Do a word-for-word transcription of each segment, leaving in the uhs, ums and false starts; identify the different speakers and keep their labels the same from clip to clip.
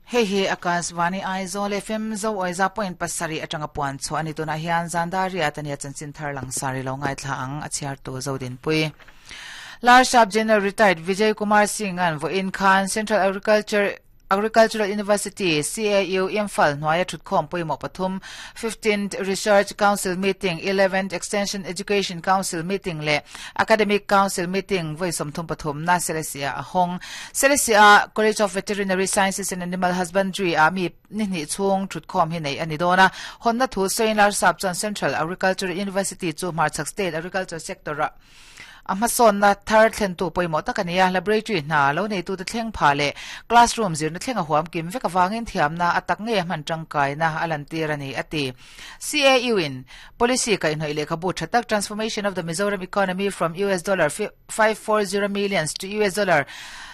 Speaker 1: Hei hi Akashvani Aizawl F M zo oiza point pasarih atanga puan chu ani. Tunah hian zandari atania chanchin thar lang sari lo ngai thla ang, a chhiar tu Zodin Pui. Larsap General Retired Vijay Kumar Singh an vo in khan Central Agriculture Agricultural University C A U Imphal hnuaia thutkhawm pawimawh pathum, fifteenth Research Council Meeting, eleventh Extension Education Council Meeting le Academic Council Meeting voi sawmthum pathum na Selesia a hawng. Selesia College of Veterinary Sciences and Animal Husbandry a mi ni hnih chhung thutkhawm hi nei ani dawna. Honna thu sawiin Larsap chuan Central Agricultural University chu hmarchhak state agriculture sector a a hmasawn na thar thlen tu pawimawh tak ani a. Laboratory hna lo nei tu te thleng pha le classroom zirna thleng a huam kim vek awangin thiamna atak nge hman tangkai na alan tir ani ati. C A U in policy kai hnoi lekhabu thatak, Transformation of the Mizoram Economy from U S dollar five hundred forty millions to U S dollar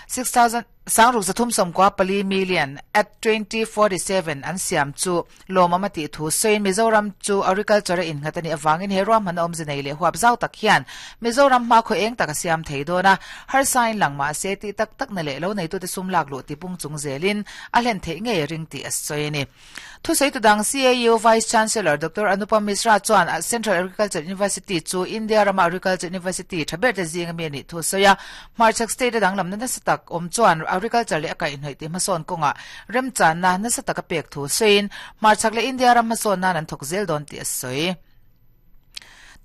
Speaker 1: six thousand sangruk zathum sawmkua pali million at twenty forty-seven an siam chu lawmawm ti thu sawiin, Mizoram chu agriculture in ngatani awangin he ruam han awm zinei le huap zau tak hian Mizoram hma kho eng taka siam thei dona har sign lang ma se ti tak tak na le lo nei tu te sum lak lu ti pung chung zelin a hlen thei nge ring ti as soini. Thu sei tu dang C A U Vice Chancellor Doctor Anupam Mishra chuan Central Agriculture University chu India rama Agriculture University thaber te zinga mi ni thu soya. Hmarchhak state dang lam na satak om chuan agriculture le akai hnoi ti hmasawn kawnga remchan na nasa taka pek thu sawiin, hmarchhak le India ram hmasawn nan an thawk zel dawn tih a sawi.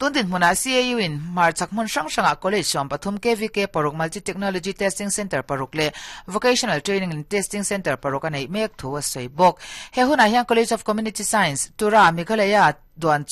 Speaker 1: Tundin hmuna C A U in hmarchhak hmun hrang hranga college sawm pathum, K V K paruk, Multi Technology Testing Center paruk le Vocational Training and Testing Center paruk a nei mek thu a sawi bawk. He hunah hian College of Community Science, Tura, Meghalaya duan.